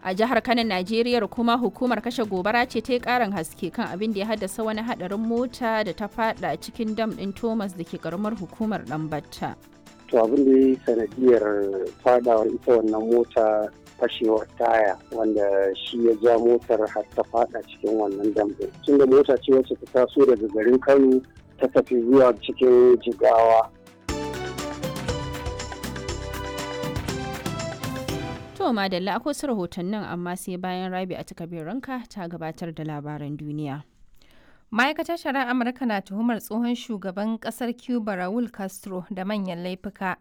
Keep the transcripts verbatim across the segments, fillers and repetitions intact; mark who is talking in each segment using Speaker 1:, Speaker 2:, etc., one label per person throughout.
Speaker 1: A jihar Kano, Najeriya kuma hukumar kashe gobara ce ta yi karin haske kan abin da ya haddasa wani hadarin mota da ta fada cikin dam din Thomas da ke karamar hukumar Dambatta.
Speaker 2: To abin da ya yi sanadiyar fadawar ita wannan mota fashewar taya wanda shi ya ja motar har ta fada cikin wannan dam din. Tunda mota ce wacce ta taso daga garin Kano ta tafi zuwa cikin Jigawa.
Speaker 1: To madalla akwai su rahotannin amma sai bayan Rabi a ranka ta gabatar da labaran duniya.
Speaker 3: Ma'aikatar Shari'ar Amurka na tuhumar tsohon shugaban kasar Cuba Raul Castro da manyan laifuka.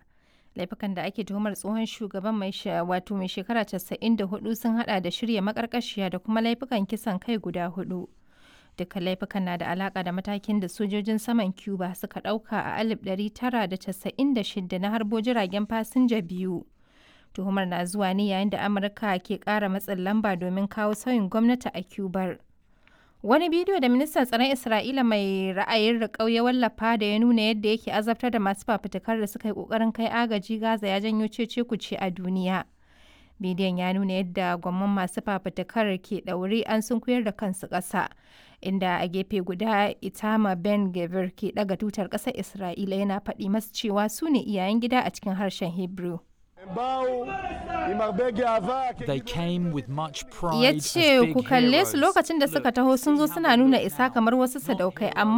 Speaker 3: Laifukan da ake tuhumar tsohon shugaban mai wato mai shekara casa'in da hudu sun hada da shirya makarkashiya da kuma laifukan kisan kai guda hudu. Duka laifukan na da alaka da matakin da sojojin saman Cuba suka dauka a alif ɗari tara da casa'in da shida na harbo jiragen fasinja biyu. Tuhumar na zuwa ne yayin da Amurka ke kara matsin lamba domin kawo sauyin gwamnati a Cubar. Wani bidiyo da ministan tsaron Isra'ila mai ra'ayin riƙau ya wallafa da ya nuna yadda yake azabtar da masu fafutukar da suka yi ƙoƙarin kai agaji Gaza ya janyo cece-kuce a duniya. Bidiyon ya nuna yadda gwamman masu fafutukar ke ɗaure an sunkuyar da kansu ƙasa, inda a gefe guda Itamar Ben Gvir ke ɗaga tutar ƙasar Isra'ila yana faɗi masu cewa su ne iyayen gida a cikin harshen Hebrew.
Speaker 4: They came with much pride
Speaker 3: Ya
Speaker 4: as
Speaker 3: ce
Speaker 4: big
Speaker 3: ku kalle su
Speaker 4: heroes.
Speaker 3: lokacin da suka taho sun zo suna nuna isa kamar wasu sadaukai amma